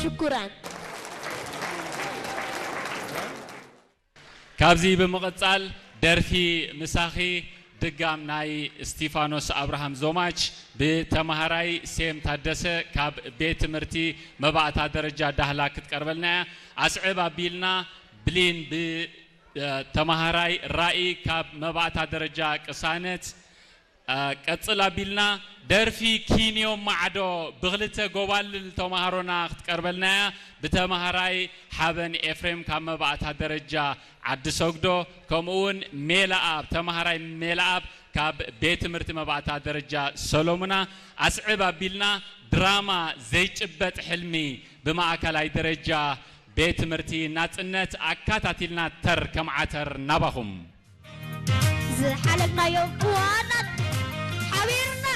ሽኩራን። ካብዚ ብምቕጻል ደርፊ ምሳኺ ድጋም ናይ እስቲፋኖስ ኣብርሃም ዞማች ብተማሃራይ ሴም ታደሰ ካብ ቤት ትምህርቲ መባእታ ደረጃ ዳህላ ክትቀርበልና እያ። ኣስዕብ ኣቢልና ብሊን ብተማሃራይ ራኢ ካብ መባእታ ደረጃ ቅሳነት ቀጽል ኣቢልና ደርፊ ኪንዮ ማዕዶ ብክልተ ጎባልል ተማሃሮና ክትቀርበልና እያ። ብተማሃራይ ሓበን ኤፍሬም ካብ መባእታ ደረጃ ዓዲ ሰግዶ፣ ከምኡ እውን ሜላኣብ ተማሃራይ ሜላኣብ ካብ ቤት ትምህርቲ መባእታ ደረጃ ሰሎሙና። ኣስዕብ ኣቢልና ድራማ ዘይጭበጥ ሕልሚ ብማእከላይ ደረጃ ቤት ትምህርቲ ናጽነት ኣካታቲልና ተር ከም ዓተር ናባኹም። ዝሓለፍናዮም እዋናት